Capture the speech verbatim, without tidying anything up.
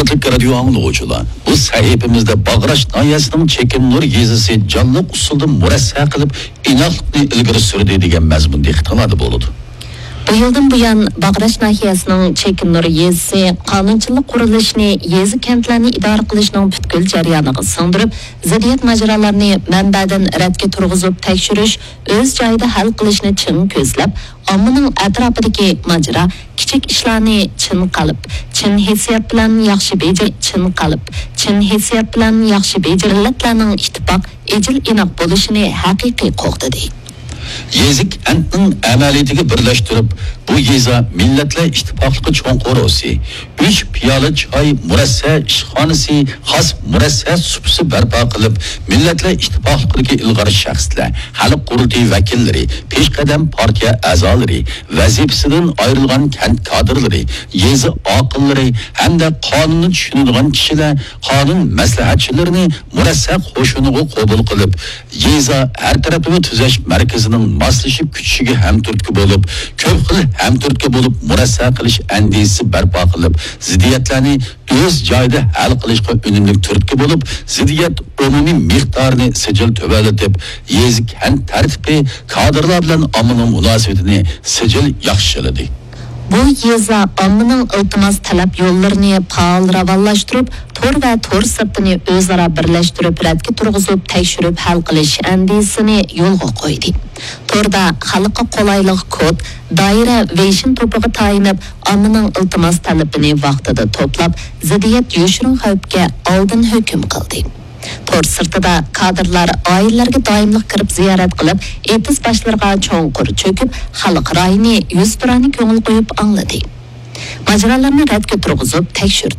ھۆرمەتلىك رادىيو ئاڭلىغۇچىلار، بۇ سەھىپىمىزدە باغراش ناھىيەسىنىڭ چېكىمنۇر يېزىسى جانلىق ئۇسۇلدا مۇرەسسە قىلىپ، ئىناقلىقنى ئىلگىرى سۈردى دېگەن مەزمۇن دىققىتىڭلاردا بولىدۇ. بۇ يىلدىن بۇيان، باغراش ناھىيەسىنىڭ چېكىمنۇر يېزىسى قانۇنچىلىق قۇرۇلۇشىنى يېزا، كەنتلەرنى ئىدارە قىلىشنىڭ پۈتكۈل جەريانىغا سىڭدۈرۈپ، زىددىيەت ماجىرالارنى مەنبەدىن رەتكە تۇرغۇزۇپ تەكشۈرۈش، ئۆز جايىدا ھەل قىلىشنى چىڭ كۆزلەپ، ئاممىنىڭ ئەتراپىدىكى ماجىرا، كىچىك ئىشلارنى چىن قەلب، چىن ھېسسىيات بىلەن ياخشى بېجىر-، چىن قەلب، چىن ھېسسىيات بىلەن ياخشى بېجىرىلەتلەرنىڭ ئىتتىپاق، ئىجىل ئىناق بولۇشىنى ھەقىقىي قوغدىدى. يېزا كەنتنىڭ ئەمەلىيىتىگە بىرلەشتۈرۈپ، بۇ يېزا مىللەتلەر ئىتتىپاقلىقى چوڭ قورۇسى، ئۈچ پىيالە چاي مۇرەسسە ئىشخانىسى، خاس مۇرەسسە سۇپىسى بەرپا قىلىپ، مىللەتلەر ئىتتىپاقلىقىدىكى ئىلغار شەخسلەر، خەلق قۇرۇلتىيى ۋەكىللىرى، پېشقەدەم پارتىيە ئەزالىرى، ۋەزىپىسىدىن ئايرىلغان كەنت كادىرلىرى، يېزا ئاقىللىرى ھەمدە قانۇننى چۈشىنىدىغان كىشىلەر، قانۇن مەسلىھەتچىلىرىنى مۇرەسسە قوشۇنىغا قوبۇل قىلىپ، يېزا ھەر تەرەپلىمە تۈزەش مەركىزىنىڭ ماسلىشىپ كۈچىشىگە ھەمتۈرتكە بولۇپ، كۆپ خىل ھەمتۈرتكە بولۇپ مۇرەسسە قىلىش ئەندىزىسى بەرپا قىلىپ، زىددىيەتلەرنى ئۆز جايىدا ھەل قىلىشقا ئۈنۈملۈك تۈرتكە بولۇپ، زىددىيەت ئومۇمىي مىقدارىنى سىجىل تۆۋەنلىتىپ، يېزا كەنت تەرتىپى، كادىرلار بىلەن ئاممىنىڭ مۇناسىۋىتىنى سىجىل ياخشىلىدى. بۇ يېزا ئاممىنىڭ ئىلتىماس تەلەپ يوللىرىنى پائال راۋانلاشتۇرۇپ، تور ۋە تور سىرتىنى ئۆزئارا بىرلەشتۈرۈپ، رەتكە تۇرغۇزۇپ، تەكشۈرۈپ ھەل قىلىش ئەندىزىسىنى يولغا قويدى. توردا خەلققە قولايلىق كود، دائىرە، ۋېيشىن توپىغا تايىنىپ، ئاممىنىڭ ئىلتىماس تەلىپىنى ۋاقتىدا توپلاپ، زىددىيەت يوشۇرۇن خەۋپكە ئالدىن ھۆكۈم قىلدى. تور سىرتىدا كادىرلار ئائىلىلەرگە دائىملىق كىرىپ زىيارەت قىلىپ، ئېتىز باشلىرىغا چوڭقۇر چۆكۈپ، خەلق رايىنى يۈزتۇرانە كۆڭۈل قويۇپ ئاڭلىدى. ماجىرالارنى رەتكە تۇرغۇزۇپ تەكشۈردى.